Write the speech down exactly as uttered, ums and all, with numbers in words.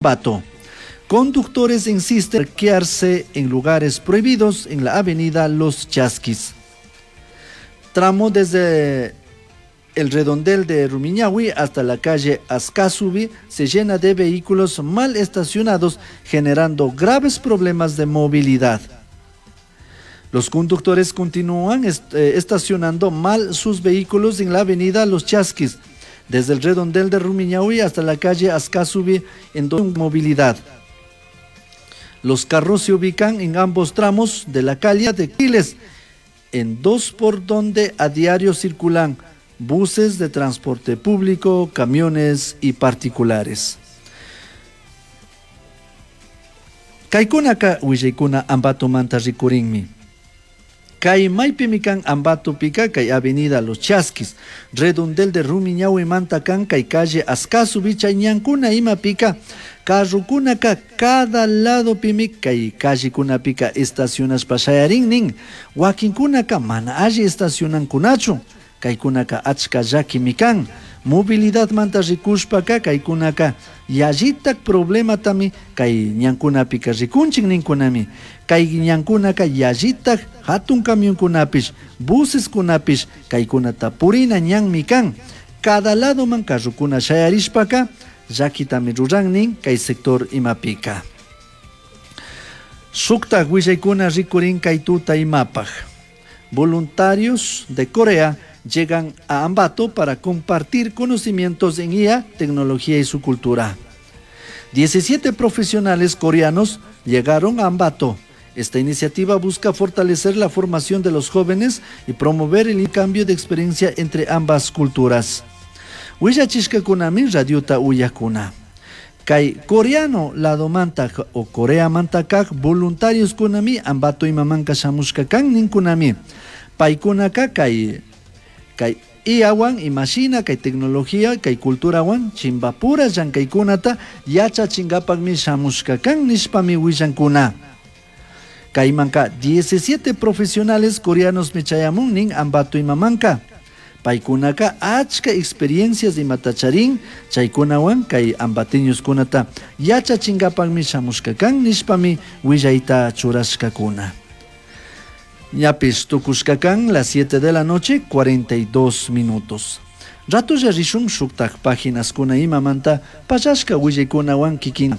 Ambato. Conductores insisten en parquearse en lugares prohibidos en la avenida Los Chasquis. Tramo desde el redondel de Rumiñahui hasta la calle Ascasubi se llena de vehículos mal estacionados, generando graves problemas de movilidad. Los conductores continúan est eh, estacionando mal sus vehículos en la avenida Los Chasquis, desde el redondel de Rumiñahui hasta la calle Ascasubi en movilidad. Los carros se ubican en ambos tramos de la calle de Quiles, en dos por donde a diario circulan buses de transporte público, camiones y particulares. Kaykunaka willaykuna Ambatomanta rikurinmi. Kay maypimi kan Ambatopika kay avenida Los Chasquis, redondel de Rumiñahui manta kan kay calle Ascasubi chay ñankuna imapika carrokunaka cada ladopimi kay callekunapika estacionashpa shayarin nin, wakinkunaka mana alli estacionankunachu, kaykunaka achka llakimi kan. Movilidadmanta rikushpaka kaykunaka yallitak problematami kay ñankunapika rikunchik ninkunami. Kay ñankunaka yallitak hatun camionkunapish, buseskunapish kaykunata purina ñanmi kan. Cada ladoman carrokuna shayarishpaka llakitami ruran nin kay sector imapika. Shuktak willaykuna rikurin kay tuta imapaj. Voluntarios de Corea llegan a Ambato para compartir conocimientos en I A, tecnología y su cultura. diecisiete profesionales coreanos llegaron a Ambato. Esta iniciativa busca fortalecer la formación de los jóvenes y promover el cambio de experiencia entre ambas culturas. Willachishkakunami radiota uyakuna. Kay coreano ladomanta o Corea mantakak voluntarios kunami Ambato imamanka shamushka kan ninkunami. Paykunaka kay, kay I Awan imashina kay tecnología kay culturawan chimbapura llankaykunata yachachingapakmi shamushka kan nishpami willankuna. Kaymanka diecisiete profesionales coreanos michayamun nin Ambato imamanka. Paykunaka achka experiencias imatacharin chaykunawan kay ambateñoskunata yachachingapakmi shamushka kan nishpami willayta churashkakuna. Ñapis tukushka kan las siete de la noche, cuarenta y dos minutos. Ratulla rishun shuktak páginas kuna imamanta pallashka willaykunawan kikin.